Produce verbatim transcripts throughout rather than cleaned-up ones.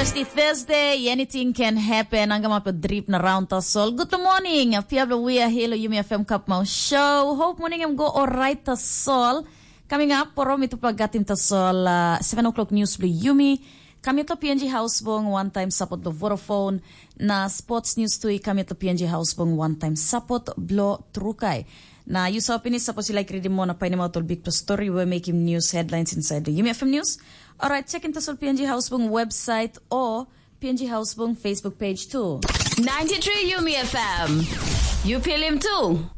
Thursday, Thursday, anything can happen. Ang gama pa drip na round tasol. Good morning. Pia blo we are here, Yumi F M Cup Mau Show. Hope morning em go alright tasol. Coming up, poro mi tupa gatim tasol uh, seven o'clock news blo Yumi. Kami to P N G House Bong, one time support the Vodafone. Na sports news tu i kami to P N G House Bong, one time support blo Trukai. Na you saw finish, suppose you like reading more na painim out all big story we making news headlines inside the Yumi F M news. Alright, check into Sol P N G House Bong website or P N G House Bong Facebook page too. Ninety-three Yumi F M. You feel him too.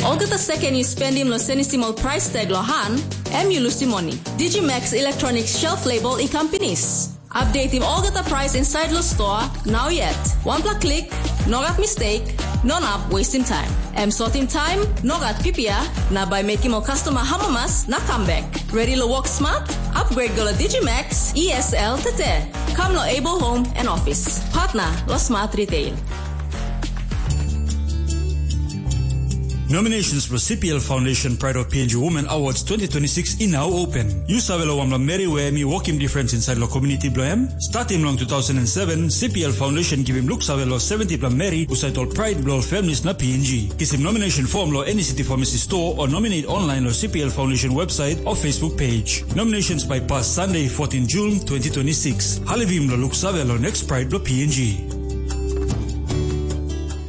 Olgeta second you spend him lo senisim ol price tag lo han, em you lusim money. Digimax Electronic Shelf Label i kam pinis. Update him olgeta price inside lo store, now yet. One pla click, no gat mistake, no nap wasting time. Em sortim time, no gat pipia, na by making ol customer hamamas na come back. Ready lo work smart? Upgrade go lo Digimax E S L tete. Come lo Able Home and Office. Partner lo Smart Retail. Nominations for C P L Foundation Pride of P N G Women Awards twenty twenty-six in now open. You save lo wamla Mary where me working difference inside lo community blo em? Starting long two thousand seven, C P L Foundation give him look save lo seventy pla Mary who side all Pride blo families na P N G. Kisim nomination form lo any city pharmacy store or nominate online lo C P L Foundation website or Facebook page. Nominations by pass Sunday, fourteen June twenty twenty-six. Halivim lo look save lo next Pride blo P N G.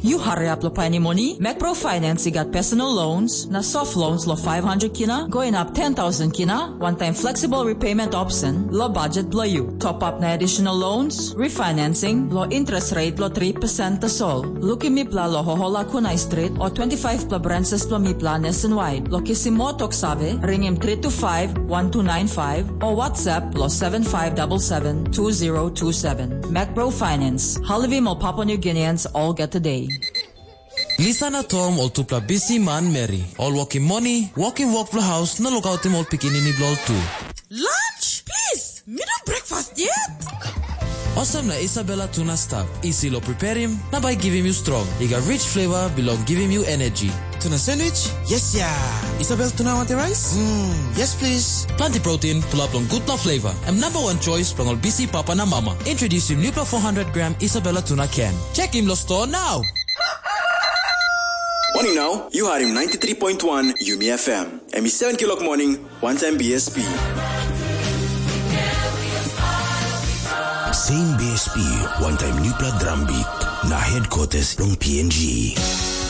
You hurry up lo painim moni, Macpro Finance i gat personal loans, na soft loans lo five hundred kina, going up ten thousand kina, one time flexible repayment option, lo budget blo you. Top up na additional loans, refinancing, lo interest rate lo three percent tasol. Lukim mipla lo Hohola Kunai Street o twenty-five pla branches blo mipla nationwide. Lo kisim mo tok save, ringim three two five, one two nine five o WhatsApp lo seven five double seven two zero two seven. Macpro Finance, halivim o Papua New Guineans all get today. Lisa na Tom ol tupela bisi manmeri, ol wokim moni, wokim wok bilong haus na lukautim ol pikinini bilong ol tu. Lunch? Please, mi no breakfast yet. Olsem na Isabella tu na stap, isi long preparim na bai givim yu strong. I gat rich flavor bilong givim yu energy. Tuna sandwich? Yes ya. Isabel tuna wanti rice? Mm, yes please. Planti protein, pulap long gutpela flavor. Em number one choice bilong ol bisi papa na mama. Introducing newpela four hundred gram Isabella tuna can. Check him lo store now. Morning now, you had him ninety-three point one Yumi F M. Em i seven kilok morning, one time B S P. Same B S P, one time newpela drum beat. Na headquarters long P N G.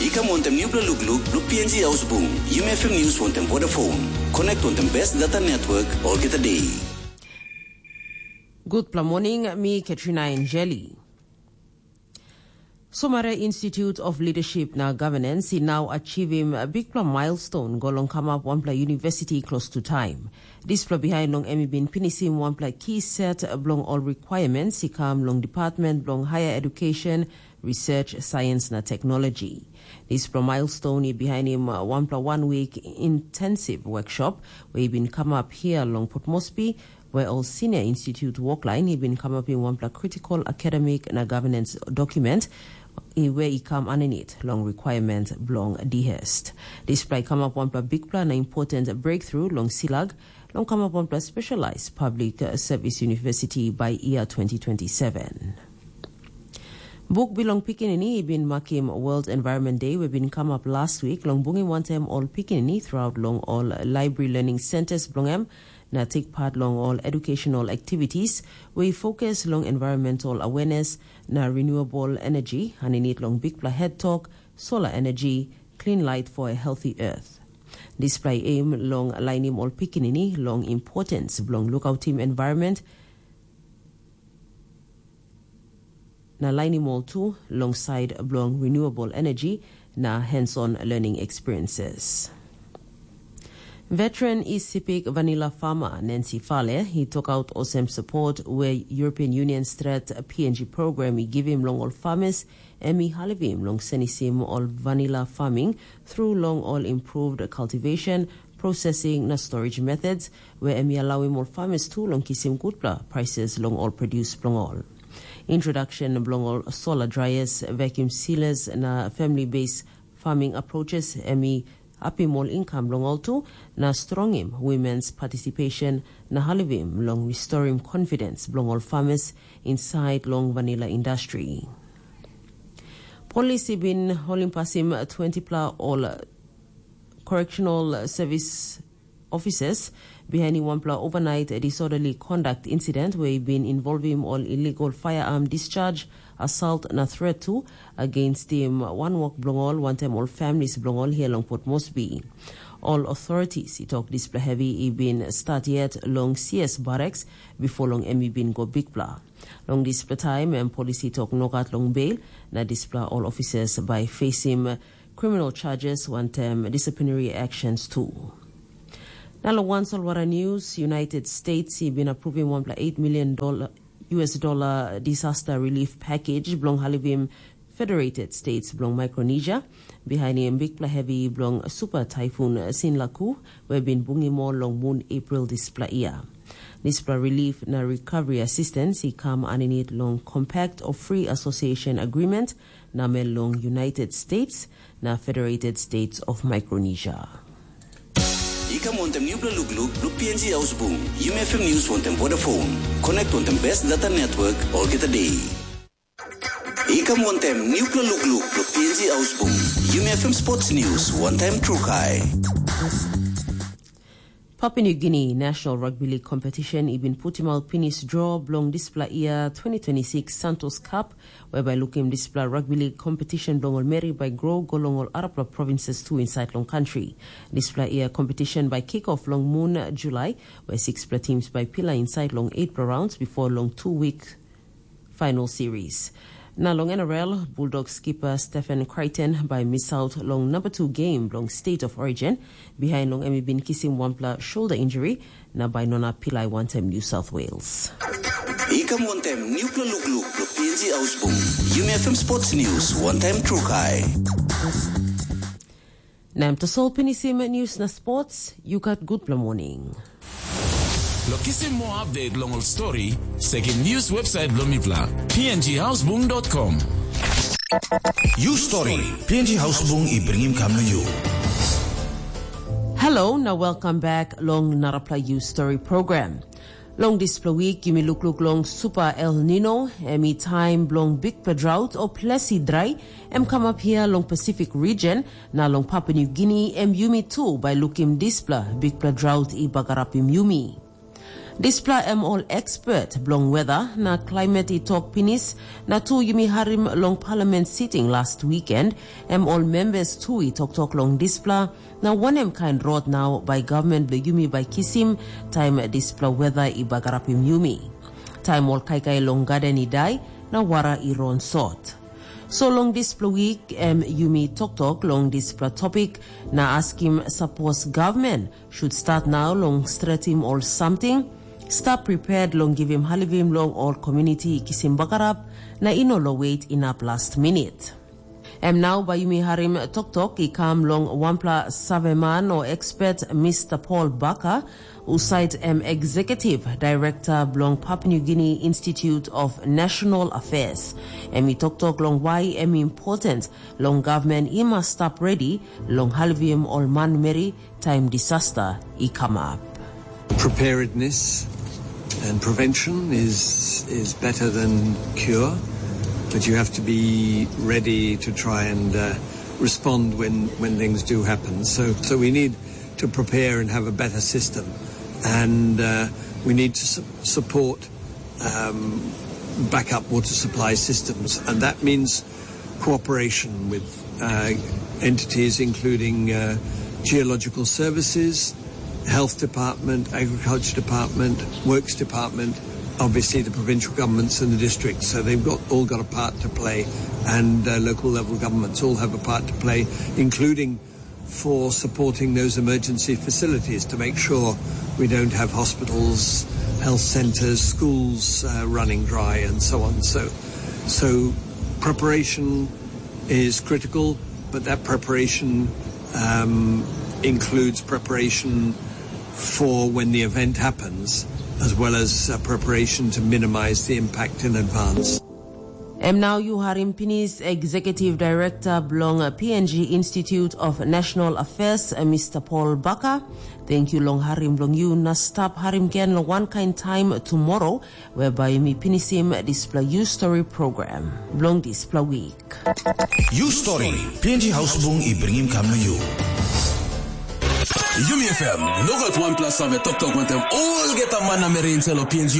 I kam wantaim newpela lukluk bilong P N G Ausbung, Yumi F M News wantaim Vodafone. Connect wantaim best data network olgeta day. Gutpela morning, mi Katrina Angeli. Somare Institute of Leadership na Governance i nau achivim bikpela milestone go long kamap wanpela university klostu taim. Dispela bihain long em i bin pinisim wanpela key set bilong ol requirements i kam long Department bilong Higher Education, Research, Science na Technology. Dispela milestone i bihainim wanpela one week intensive workshop we i bin kamap hia long Port Moresby, where ol senior institute woklain i bin kamapim wanpela critical academic na governance document i we i kam aninit long requirement bilong DHEST. Dispela i kamap wanpela bikpela na important breakthrough long silag long kamap wanpela specialized public service university by year twenty twenty-seven. Buk bilong pikinini i bin makim World Environment Day we bin kamap last week long bungim wantaim ol pikinini throughout long ol library learning centers bilong em na take part long ol educational activities we i focus long environmental awareness na renewable energy aninit long bikpela head talk, solar energy, clean light for a healthy earth. Dispela i aim long lainim ol pikinini long importance bilong lukautim environment, na lainim ol tu long side bilong renewable energy na hands-on learning experiences. Veteran Isipik vanilla farmer Nancy Fale i tokaut olsem support we European Union Stret P N G program i givim long ol farmers em i halivim long senisim ol vanilla farming through long ol improved cultivation, processing na storage methods we em i alauim ol farmers tu long kisim gutpela prices long ol produce bilong ol. Introduction bilong ol solar dryers, vacuum sealers na family based farming approaches em i apim ol income long ol tu, na strongim women's participation na halivim long restorim confidence bilong ol farmers inside long vanilla industry. Polis i bin holim pasim twenty pla ol correctional service officers behind wanpela overnight disorderly conduct incident where i bin involvim ol illegal firearm discharge, assault na threat tu against him one work bilong ol wantaim ol families bilong ol here long Port Moresby. All authorities i tok dispela heavy i bin start yet long C S Barracks before long em i bin go bikpela. Long dispela taim em polisi tok nogat long bail, na dispela all officers by facing criminal charges wantaim disciplinary actions too. Na long wan solwara news, United States i bin approving one point eight million dollar U S dollar disaster relief package bilong halivim Federated States bilong Micronesia, behind him bikpela heavy bilong super typhoon Sinlaku, we bin bungim ol long mun April dispela year. Dispela relief na recovery assistance i kam aninit long Compact of Free Association Agreement, namel long United States na Federated States of Micronesia. I kam wantem nupela lukluk blo P N G Hausbung. Yumi F M News wantem Vodafone. Connect wantem best data network olgeta day. I kam wantem nupela lukluk blo P N G Hausbung. Yumi F M Sports News wantem Trukai. Papua New Guinea National Rugby League Competition i bin putim out pinis draw bilong dispela year twenty twenty-six Santos Cup, whereby lukim dispela rugby league competition bilong ol meri by grow go long ol arapela provinces tu inside long country. Dispela year competition by kick off long moon July, where six pla teams by pila inside long eight pla rounds before long two week final series. Na long N R L, Bulldog skipper Stephen Crichton by miss out long number two game bilong State of Origin, behind long em i bin kisim wanpela shoulder injury, na by nona pilai wantem New South Wales. I kam wantem nupela lukluk blo P N G Hausbung. Yumi F M Sports News wantem Trukai. Na em tasol pinisim news na sports, you got good morning. Lo kisim moa update long ol story, sekim news website bilong mipela, P N G Hausbung dot com. You story, P N G Hausbung i bringim kam na you. Hello, na welcome back long Narapla You Story program. Long dispela wik, yumi lukluk long Super El Nino, em i taim bilong bikpela drought o ples i drai, em kamap hia long Pacific region, na long Papua New Guinea, em yumi tu bai lukim dispela bikpela drought i bagarapim yumi. Dispela em ol expert bilong weather na climate i tok pinis, na tu yumi harim long parliament sitting last weekend, em ol members tu i toktok long dispela, na wanem kain rot nau bai government bilong yumi bai kisim, taim dispela weather i bagarapim yumi. Taim ol kaikai long garden i dai, na wara i ron sot. So long dispela wik, em yumi toktok long dispela topik, na askim sapos government should start nau long stretim ol samting, stap prepared long givim halivim long ol community i kisim bagarap, na i no lo wet inap last minute. Em nau bai yumi harim toktok i kam long wanpela saveman o expert Mr. Paul Baka, usait em executive director bilong Papua New Guinea Institute of National Affairs. Em i toktok long why em important long government i mas stap ready long halivim ol manmeri taim disaster i kamap. Preparedness and prevention is is better than cure, but you have to be ready to try and uh, respond when when things do happen. So so we need to prepare and have a better system, and uh, we need to su- support um, backup water supply systems, and that means cooperation with uh, entities including uh, geological services, health department, agriculture department, works department, obviously the provincial governments and the districts. So they've got all got a part to play, and uh, local level governments all have a part to play, including for supporting those emergency facilities to make sure we don't have hospitals, health centres, schools uh, running dry, and so on. So, so preparation is critical, but that preparation um, includes preparation for when the event happens, as well as uh, preparation to minimise the impact in advance. Em nau yu harim pinis Executive Director bilong P N G Institute of National Affairs, Mister Paul Baka. Thank you long harim bilong yu na stap harim gen long wankain taim tomorrow, whereby mi pinisim dispela You Story program bilong dispela week. You Story, P N G Hausbung i bringim kam na you. Yumi F M, nogat wanpela save toktok wantem olgeta man na meri inside lo P N G